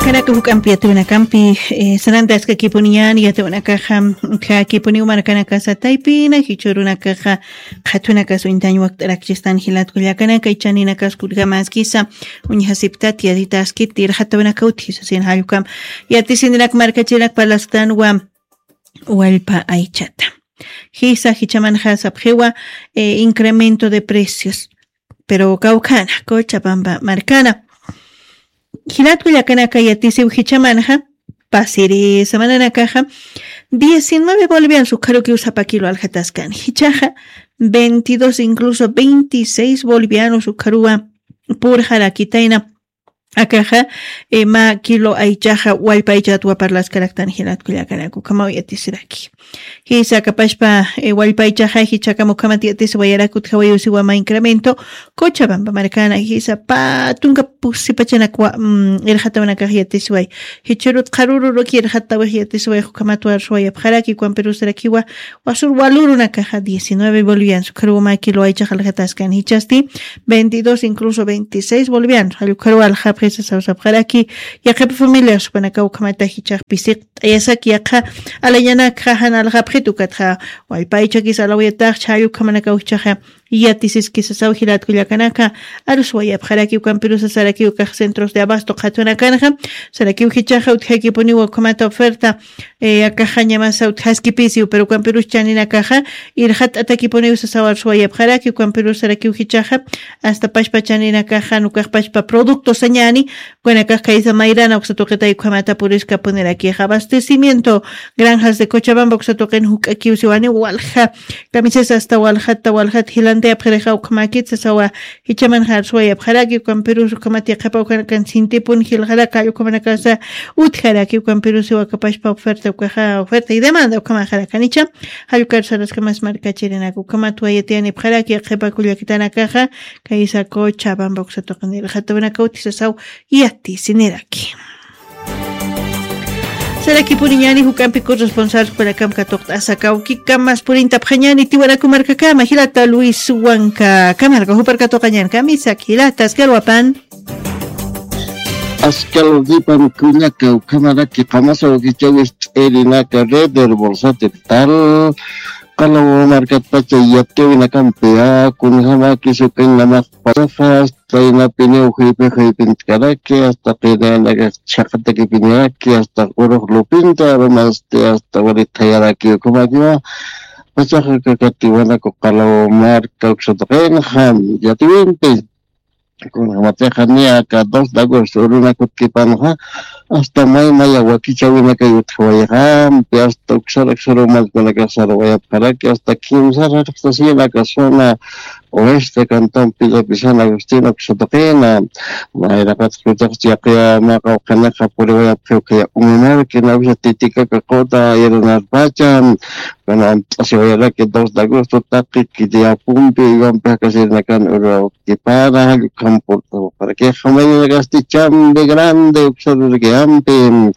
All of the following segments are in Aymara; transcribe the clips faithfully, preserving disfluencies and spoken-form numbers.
Kanaka juk'ampi yatawinakampi, eh, sanantaskakipuniñan yatawinakaxa, jakipuniw markanakasa taypina jichurunakaxa qhatwinakas uñtañ wakt'arakchistan jilatkullakanaka ichaninakas kurgamaskisa uñjasiptat yatitaskit irxatawinaka utjisasin jallukam. Yatisinirak markachirinak parlastan wa wallpa aychata. Jisa jichamanxa sapxiwa, eh, incremento de precios. Pero kawkhana Cochabamba markana, jilatku llakanaka yatisiw jichamanxa, pasiri samananakaxa diecinueve bolivianos ukharukiw sapa kilo aljataskan, jichaxa veintidós, incluso veintiséis bolivianos ukharuwa purxarakitayna. Akaxa, eh, mä kilo aychaxa wallpa aychatwa parlaskaraktan jilatku llakanaka ukhamaw yatisiraki. Jisa kapashpa, eh, wallpa aychaxa jichhakam ukhamat yatisiwayarak utjawayusiwa mä incremento Cochabamba markana. Jisa pä tunka pusipachanakwa, mm, irxatawanakax yatisiway. Jichhürut qharürüruk irxatawix yatisiway ukhamatwa arsuwayapxaraki ukampirusarakiwa wasur walurunakaxa diecinueve bolivianos ukharuwa mä kilo aychax aljataskan, jichhasti veintidós, incluso veintiséis bolivianos jallukharuwa aljapxisa sawsapxaraki. Yaqhipa familias jupanakaw ukhamata jichhax pisiqt'ayasak yaqha alañanakxa jan aljapxit ukatxa wallpa aychakis alawayatax chhallukhamanakaw jichhaxa yatisiskisasaw jilatku llakanaka. Arsuwayapxaraki ukampirusa saraki ukax centros de abasto qhatwinakanxa sarakiw jichhaxa utjakipuniwa ukhamata oferta, eh, akaxañamasa utjaskipisiw pero ukampirus chaninakaxa irxat'atakipuniw sasaw arsuwayapxaraki ukampirus sarakiw jichhaxa. Hasta pashpa chaninakaxa nukax pashpa producto sañani ukanakax kaysa mayrana uksa tuqitay ukhamata puriskapunirakixa abastecimiento granjas de Cochabamba uksa tuqin juk'akiw siwani walja kamisas hasta waljata waljata jilantayapxirixa ukhamakit sasawa. Jichamanxa arsuwayapxaraki ukampirus ukhamat yaqhipa ukanakan sintipun jilxaraka ukhamanakasa utjaraki ukampirus siwakapashpa oferta ukaxa oferta y demanda ukhamaxarakanicha. Jallukar saraskamas markachirinaka ukhamatwa yatiyanipxaraki yaqhipa kullakitanakaxa kaysa Cochabamba uksa tuqin irxatawinaka utjisasaw yatisiniraki. Sarakipuniñani juk'ampi corresponsal jupanakam katuqt'asa kawkikam mas purintapxañani tiwanaku markakama jilata Luis Wanka kamarka jupar katuqañan kamisak jilata askar wapan. Askar wapan kullaka ukhamaraki qamasa wakichawis ch'irinaka red del bolsate tal qalaw markatpacha yatiwinakampi kunjamaki sukañ namax pasaxas taynapiniw juypi juypintkaraki hasta qinaynaka chhaqatakipiniraki hasta urux lupinta arumasti hasta wali thayaraki ukhamakiwa. Pachaxa kakatiwanaku qalaw marka uksataqinxa yatiwimpi kunjamatixa niya aka dos de agosto urunakutkipanxa hasta may maya wakichawinakay utjawayxampi hasta uksara uksara umalkunakax sarawayapxaraki hasta kimsar jarqtasinaka zona oeste cantón pillapi san agustina uksataqina. Nayraqatx kutax chiqya mä qawqhanixa puriwayapxiw khaya umamarki nawisa titikaka quta iranarpacha kana amt'asiwayaraki dos de agosto taqi kiti apumpi iwampi jakasirinakan urwawkipara jallukhampurtawaparakixa mayninakasti chambi grande uksarurkiyampi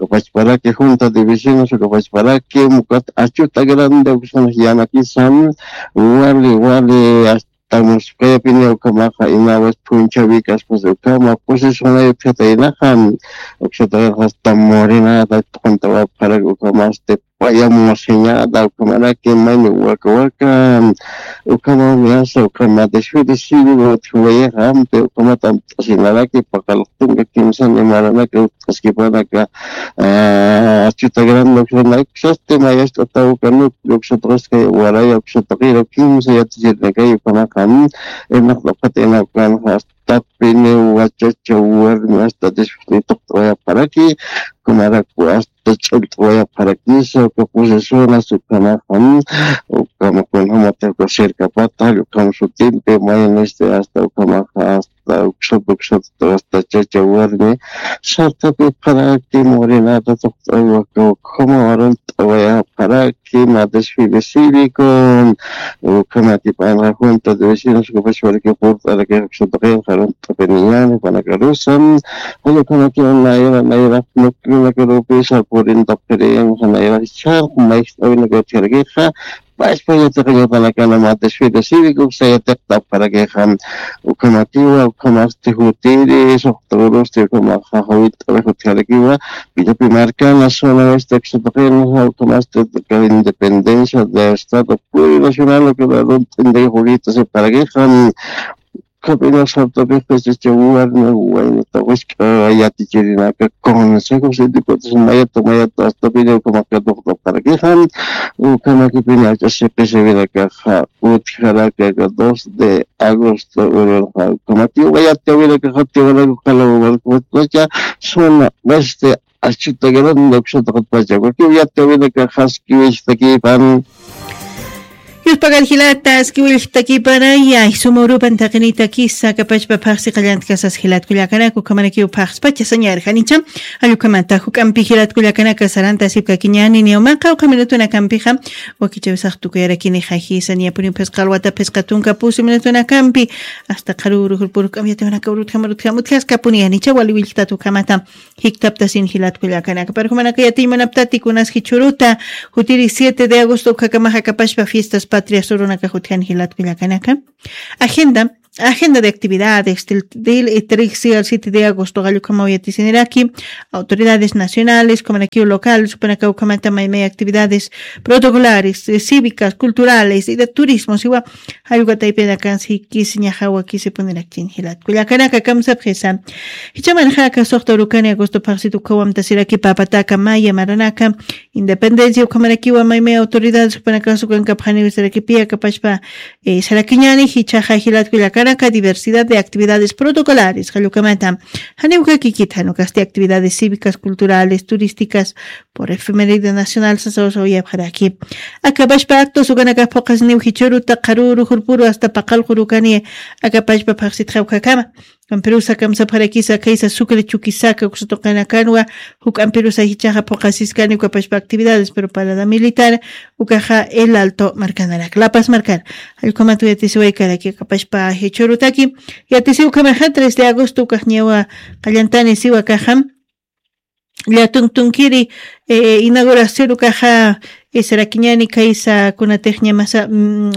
ukapachparaki junta de vecinos ukapachparaki mukat achuta grande uksanak yanakisan wali wali hasta musquyapini ukhamaxa inawis phunchhawi kaspas ukhama pusis unayupxataynaxa uksataynaxa hasta morinata tuqantawapxarak ukhamasti payamusiñata ukhamaraki mayni waka waka ukhamami asa ukhama desfile civil utjiwayixa ampi ukhamat amt'asinaraki paqalaq tunka kimsan imaranaka utqaskipanaka achuta grande uksanaka uksasti mayast'ataw ukanuk uksataqaskay waraya uksataqira kimsa yatichirinakay ukhamaxa irnaqt'apxatayna ukanxa hasta piniw wachacha warmi hasta desfile tuqt'awayapxaraki ukhamarak hasta ch'ullt'awayapxarakisa uka procesonas ukhamaxa ukhama kunjamata uka cercapata jall ukham sutimpi mayniste hasta ukhamaxa hasta uksat uksat hasta chacha warmi sartapipxaraki morinata tuqt'away waka ukhama warunt'awayapxaraki ma desfile cívico ukhamatipanxa junta de vecinos ukapachparaki purt'araki uksataqinxa runt'apiniñani panakarusa jall ukhamatiw nayra nayra nuklinakarupisa purintapxirinxa nayra charq mayjt'awinakatjarakixa pachpa yatiqañatanakanama desfile cívico sayatiqtapxarakixa. Ukhamatiwa ukhamasti jutiri suxturusti ukhamaxa jawit'awi jutjarakiwa. Pitapi markana zona oeste ksutaqinxa ukhamasti independencia de estado plurinacional ukamarunt'inday jurita siparakixa. Khapina sartapixta chacha warna waynata wisk'a yatichirinaka consejo sindicatos mayata mayata astapina ukhamakatuqtapxarakixa. Ukhamakipina ach'a siqisiwinakaxa utjaraka dos de agosto ururxa ukhamatiw mayata winakaxa tiwanaku qalaw markuwatpacha zona oeste. Achutakaranda uksataqatpacha wakiw yatawinakaxa askiwilltakipan. Yuspagar jilata askiwilltakipanaya suma urupan taqinitakisa kapachpa phaxsi qallantkasas jilatkullakanaka ukhamanakiw phaxspacha sañarjanicha. Allukhamata juk'ampi jilatkullakanaka saranta sipkakiñani niwmaqa ukha minutunakampixa wakichawisax tukuyarakini jajisa niyapuniw phisqa alwata phisqa tunka pusi minutunakampi. Asta qharu urujurpuru juk'am yatiwanaka urutjam urutjam utjaskapuni yanicha wali willktat ukhamata. Jiktaptasin jilatkullakanaka parjumanaka yatiñmanaptati kunas jichhuruta jutiri siete de agosto ukhakamaj akapashpa fiestas patrias urunaka jutjani jilatkullakanaka. Agenda agenda de actividades del trixi al siete de agosto qallukhamaw yatisiniraki. Autoridades nacionales ukhamanakiw locales ukhamanaka ukhamata maymay actividades protocolares cívicas culturales y de turismo siwa. Jallwataypinakansi kisiñaxa wakisipunirakin jilatkullakanaka kamsapxisa. Jichamanxa aka suxta urukani agosto phaxsit ukhawamtasiraki papataka maya maranaka independencia ukhamarakiwa maymay autoridades ukpanakasu kankapxaniwi sarakipi akapashpa sarakiñani jichaxa jilatkullakanaka diversidad de actividades protocolares qallukamata. Janiwka kikit janukasti actividades cívicas culturales turísticas por efemeride nacional sasawasawayapxaraki. Akapashpa actos ukanakax phuqasniw jichhuruta qharuru jurpuru asta paqallqurukani akapashpa phaxsitxawkakama. Kampirusa kamsapxarakisa khaysa sucre chukisaka uksatuqinakanwa juk'ampirusa jichaxa phuqasiskani ukapashpa actividades preparada militar ukaxa el alto markanarak lapas markana. Allkumat uyatisiwaykaraki akapashpa jichhurutaki yatisiw ukhamaxa tres de agosto ukaxñawa qallantani siwa kaxam. Llatun tunkiri inauguración ukaxa sarakiñani kaysa kunatixñamasa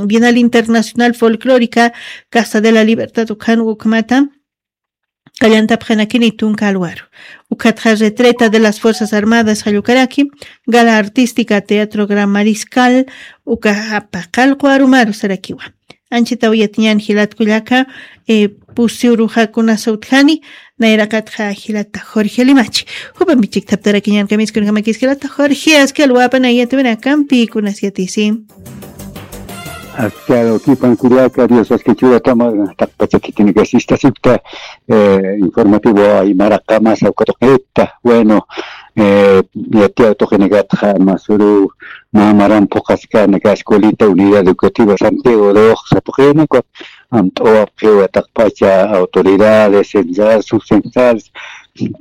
bienal internacional folclórica casa de la libertad ukhan ukmata. Qallantapxanakini tunka alwaru ukhatxa retreta de las fuerzas armadas qallukaraki gala artística teatro gran mariscal ukaxa paqallqu arumaru sarakiwa. Anchitaw yatiñan jilatkullaka pusi uruxakunasa utjani. Nayraqatxa jilata jorge limachi jupampi chikthaptarakiñan kamiskunkamakis jilata jorge aski alwapanay yatiwinakampi kunas yatisi. Aski alwakipan kullaka dios aski churatama taqpacha khitinakasistasipta. Informativo aymaraqamasa ukatuqita bueno. Yatiyaw tuqinakatxa masuru mä maran phuqaskanaka escuelita unidad educativa santiago de oxsa tuqinakat amt'uwapxiwa taqpacha autoridades censal subcensal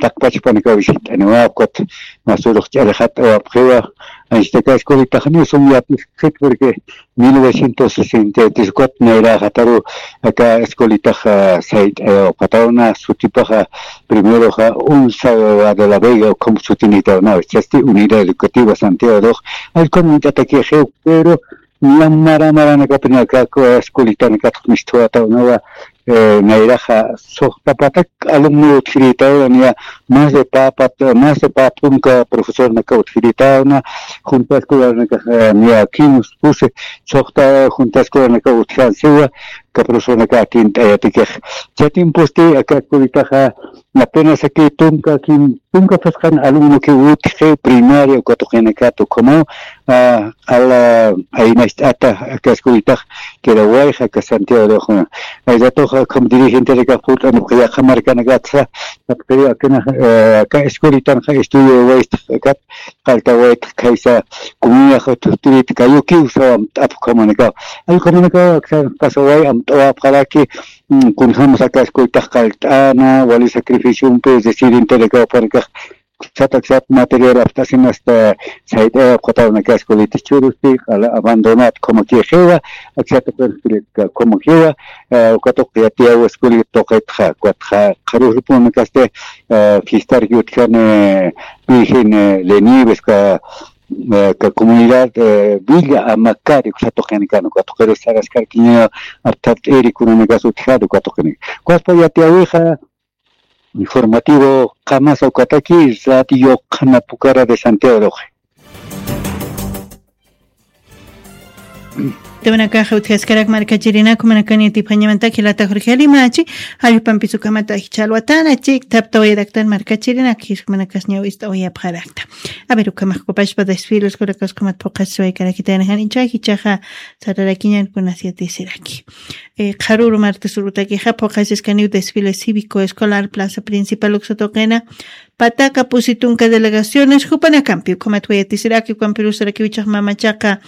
taqpachpanakaw visit'aniwapkat. Masurux ch'arixat'awapxiwa. Anchitaka escuelitaxniw sum yatisqit porque mil novecientos sesenta y tres cuatro nayraxataru aka escuelitaxa sayt'ayawapxatawna sutipaxa primeroxa unsa de la vega ukham sutinitawnawa chasti unidad educativa santiago de ox. Allkun uñt'atakixiw pero ñam mara maranakapinaka escuelitanakatx misthuwatawnawa. Nayraxa suxtapatak alumno utjiritawna niya más de papat más de papunka profesornaka utjiritawna junta escuelanakaxa niya quince puse suxta junta escuelanaka utjansiwa. Aka profesornaka atint'ayatikix chay tiemposti aka escuelitaxa apenas aki tunka quin tunka phisqan alumnoki utji primaria uka tuqinakat ukhamaw. Q'ala aynacht'ata aka escuelitax kirawayxa aka santiago de oxuna. Ay ratoxa ukham dirigentenakax purt'anipxa yaqha markanakatsa sapxiri akanax aka escuelitanxa estudio waytx akat qalltawaytx khaysa kumiyax thutirit kayukiw sawamt'ap ukhamanakaw. Ay ukhamanakaw aksa pasaway amt'awapxaraki kunjämas aka escuelitax qallt'ana wali sacrificiompi es decir enterakawpanakax aksat aksat material apt'asin asta sayt'ayapxatawnaka escuelita churusti q'ala abandonat khumakixiwa. Aksat ukan escuelita khumakiwa. Uka tuqi yatiyaw escuelita tuqitxa ukatxa qharurpunakasti fiestarki utjani virgen lenives uka eh, ka comunidad, eh, Villa Amacari, uka tuqinikan, uka tuqiru saraskarkiña, apthat eri kunanakas utjat, uka tuqini. Kwaspa yatiyawixa, informativo qamasa ukataki, Radio Qhana Pucara de Santiago de Oje. Temanakaxa utjaskarak markachirinaku, manakani tiphañamantaki lata Jorge Alimachi, jallpampis ukhamata jichha alwatana, chik thaptawayaraktan markachirinak, jismanakasñaw ist'awayapxarakta. A ver, ukhamax kupashpa desfiles, kurakas ukhamat phuqasiwaykarakitayna, jan ichha jichhaxa sararakiñan kunas yatisiraki. Eh, qharuru martes urutakixa phuqasiskaniw desfile cívico escolar plaza principal uksa tuqina, Pataca pusi tunka delegaciones, jupanakampi, ukhamat wayatisiraki, ukampirusarakiw jichhax mamachaqa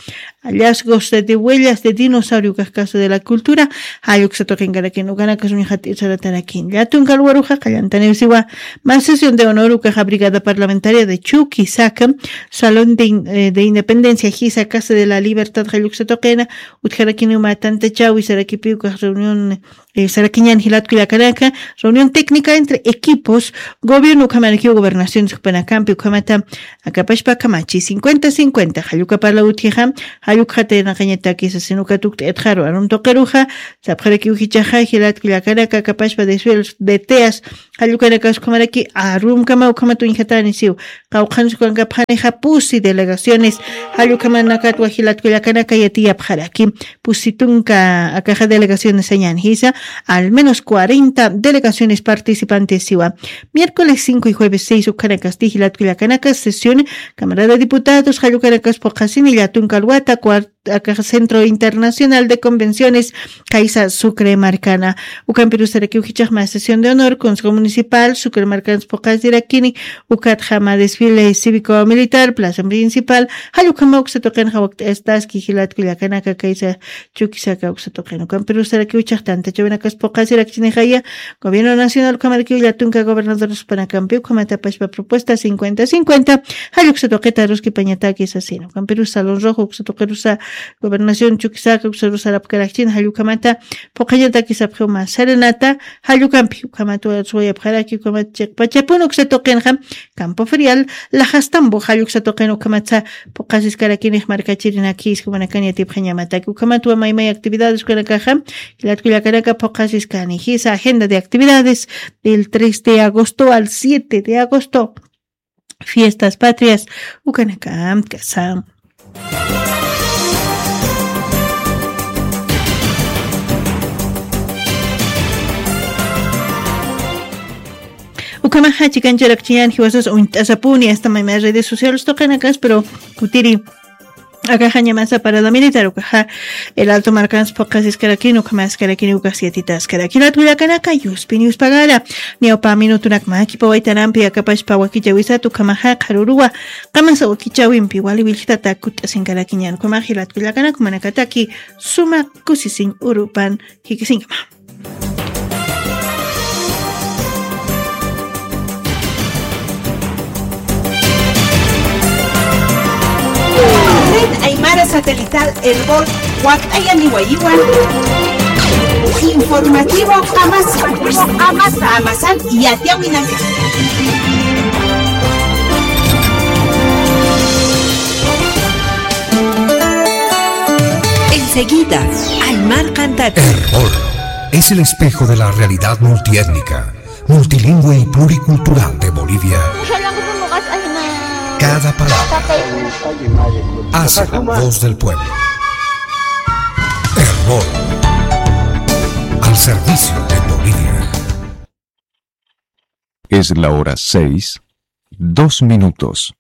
hallazgos de, de huellas de dinosaurio ukax Casa de la Cultura, jall uksa tuqinkarakin, ukanakas uñjat isaratarakin. Llätunka lugaruxa qallantaniw siwa, mä sesión de honor ukaxa Brigada Parlamentaria de Chuquisaca, Salón de In-, eh, de Independencia, jisa Casa de la Libertad, jall uksa tuqina, utjarakiniw mä tantachäwi sarakipi ukax reunión, eh, sarakiñan jilat kullakanaka, reunión técnica entre equipos, gobierno ukhamarakiw gobernación jupanakampi, ukhamata akapashpa kamachi cincuenta cincuenta, jall uka parla utjixa, jall ukxata yanaqañataki sasin uka tukt'ayatxaru, arum tuqiruxa, sapxarakiw jichhaxa, jilat kullakanaka akapashpa desfiles de teas, jall ukanakas ukhamaraki, arumkama ukhamat uñjatani siw, qawqhansa ukankapxanixa pusi delegaciones, jall ukhamanakatwa jilat kullakanaka yatiyapxaraki. Pusi tunka akaxa delegaciones sañän jisa, al menos cuarenta delegaciones participantes siwa. Miércoles cinco y jueves seis ukhanakasti jilat kullakanaka sesión Cámara de Diputados, jall ukanakas phuqasini llätunka alwata, cuar-, akaxa Centro Internacional de Convenciones, kaysa Sucre markana. Ukampirusarakiw jichhax mä sesión de honor, Consejo Municipal, Sucre markans phuqasirakini, ukatxa mä desfile cívico militar, plaza principal, jall ukhama uksa tuqinxa wakt'astaski jilat kullakanaka kaysa Chuquisaca uksa tuqin. Ukampirusarakiw jichhax tantachäwinakas phuqasirakchinixaya, Gobierno Nacional ukhamarakiw llätunka gobernadores jupanakampi, ukhamat apashpa propuesta cincuenta cincuenta, jall uksa tuqita aruskipañataki sasina. Ukampirus Salón Rojo uksa tuqirusa, Gobernación Chuquisaca uksa sarapkarakchina, jall ukhamata phuqañataki sapxiw mä serenata, jall ukampi, ukhamat wayapxaraki, ukhamat chiqpachapun uksa tuqinxa, Campo Ferial, Lajastambo, jall uksa tuqin ukhamatsa phuqasiskarakini markachirinakis, jumanakan yatipxañamataki, ukhamatwa maymay actividades ukanakaxa, jilat kullakanaka phuqasiskani, jisa agenda de actividades del tres de agosto al siete de agosto. Fiestas patrias, ukanakam kasa. Ukhamaxa chikancharakchiñan jiwasas uñt'asapuni, hasta mayma redes sociales tuqinakas, pero kutiri akaxañamasa parada militar ukaxa, El Alto markans phuqasiskarakini, ukhamaskarakini, ukax yatitaskaraki. Jilat kullakanaka, yuspin yuspagara. Ñawpa minutunak mä kipawaytanampi akapashpa wakichäwisat ukhamaxa qharuruwa, qamasa wakichäwimpi wali willjtata kutt'asinkarakiñan. Ukhamax jilat kullakanaka, jumanakataki suma kusisiñ urupan jikisiñkama. Red Aymara Satelital Erbol, wakt'ayaniwayiwan. Informativo Amasa. Amasa. Amasan yatiyawinaka. Enseguida, Aymar Cantate. Erbol es el espejo de la realidad multiétnica, multilingüe y pluricultural de Bolivia. Cada palabra hace la voz del pueblo. Erbol, al servicio de Bolivia. Es la hora seis, dos minutos.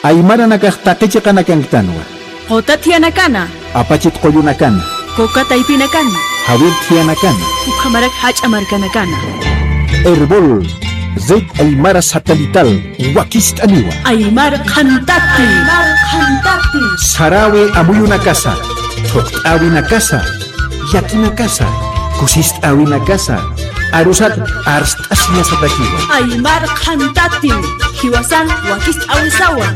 Aymaranakax taqi chiqanakanktanwa. Quta thiyanakana. Apachit qullunakana. Quka taypinakana. Jawir thiyanakana. Ukhamarak jach'a markanakana. Erbol, Red Aymara Satelital, wakist'aniwa. Aymar qhantati. Aymar qhantati. Sarawi amuyunakasa, thuqt'awinakasa, llakinakasa, kusist'awinakasa, arusat arst'asiñasatakiwa. Aymar qhantati, jiwasan wakist'awisawa.